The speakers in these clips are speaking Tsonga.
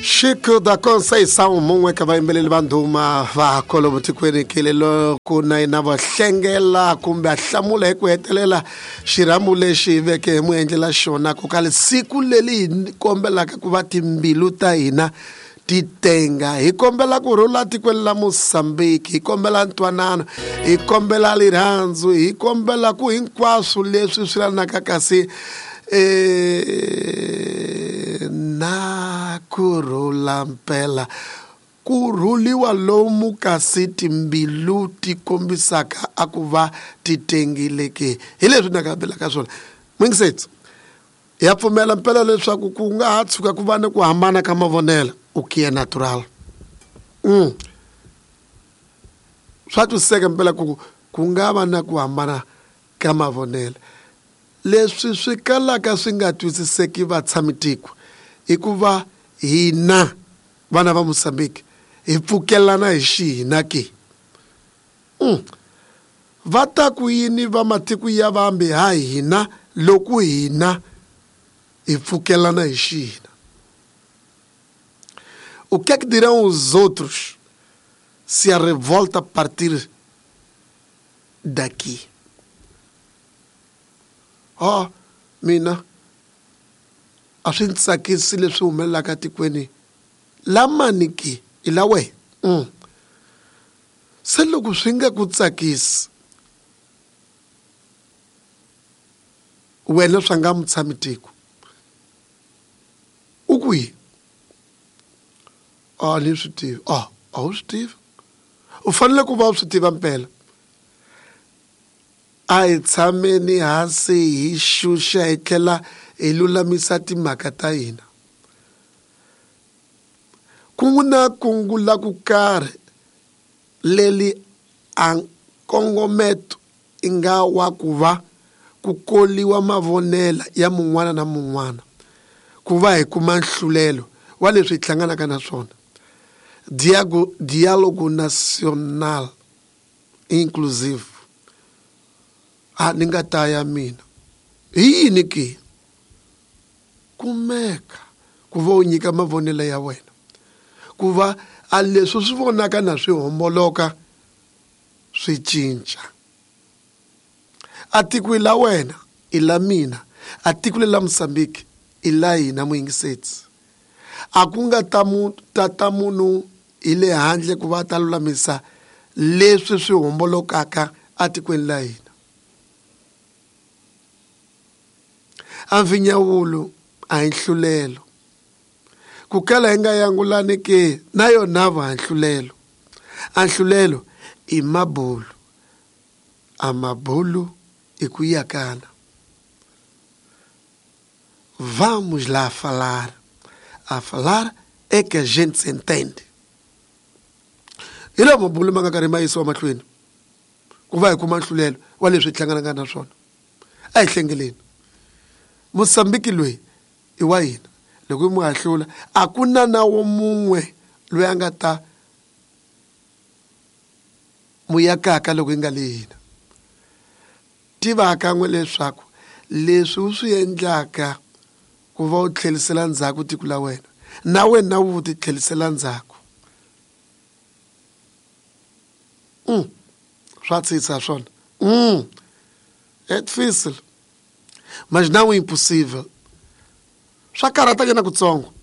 Chico da Conceição mun'we ka vayimbeleri va ndhuma va kwalomu tikweni kile loko na yena va hlengela kumbe a hlamula hi ku hetelela xirhambo lexi hi veke hi mu endlela xona ku kale siku leri hi kombelaka ku va timbilu ta hina ti tenga hi kombela ku rhula tikweni la Mozambique hi kombela ntwanano hi kombela rirhandzu hi kombela ku hinkwaswo leswi swi lanaka kasi na ku rhula mpela ku rhuliwa lomu kasi timbilu ti kombisaka a ku va ti tengile ke hi leswi ni nga swona mwingisetsi ya pfumela mpela leswaku ku nga ha tshuka ku va ni ku hambana ka mavonelo o que é natural swa twisiseka mpela ku ku nga va na ku hambana ka mavonelo leswi swi kalaka swi nga twisiseki vatshamitiko i ku va hina vana va Mozambique hi pfukelana hi xihina ke va ta ku yini va matiko ya vambe ha hina loko hina hi pfukelana hi xihina. O que é que dirão os outros se a revolta partir daqui? Oh, mina a swi ndzi tsakisi leswi humelelaka tikweni lamani ke i la wehe se loko swi nga ku tsakisi wena swa nga mutshami tiko u kwihi a ni swi tivi a a wu swi tivi u fanele ku va u swi tiva mpela a hi tshameni hansi hi xuxa hi tlhela hi lulamisa timhaka ta hina ku na kungu la ku karhi leri a nkongometo i nga wa ku va ku koliwa mavonela ya mun'wana na mun'wana ku va hi kuma nhlulelo wa leswi hi hlanganaka na swona dialogo nacional inclusive a ni nga ta ya mina hi yini ke kumeka ku va u nyika mavonelo ya wena ku va a leswi swi vonaka na swi homboloka swi cinca a tiko i la wena i la mina a tiko leri la Mozambique i la hina muyingisetsi a ku nga ta mu tata munhu hi le handle ku va ta lulamisa leswi swi hombolokaka atikweni la hina a mvinyawulo a hi nhlulelo ku kala hi nga yangulani ke na yona va nhlulelo a nhlulelo i mabulu a mabulu i ku yakana vamos lá falar a falar é que a gente se entende hi lawa mabulu ma nga karhi ma yisiwa mahlweni ku va hi kuma nhlulelo wa leswi hi hlanganaka na swona a hi hlengeleni Mozambique loyi i wa hina loko hi mu hahlula a ku na na wo mun'we loyi a nga ta mu yakaka loko yi nga le hina tiva kan'we leswaku leswi u swi endlaka ku va u tlhelisela ndzhaku tiko la wena na wena wu ti tlhelisela ndzhaku swa tsitsa swona é difícil mas não impossível swa karhatanyana kutsongo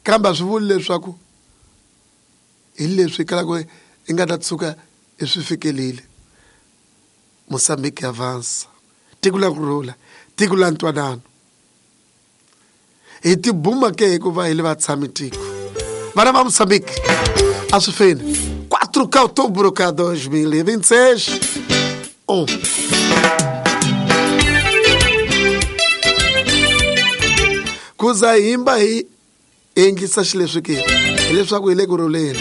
kambe a swi vuli leswaku hi leswi kalaka i nga ta tshuka i swi fikelile Mozambique avança tiko la ku rhula tiko la ntwanano hi tibuma ke hikuva hi le vatshami tiko vana va Mozambique a swi feni 4 ka outubro ka 2026 1 ku za himba hi endlisa xileswi ke hileswaku hi le ku rhuleni.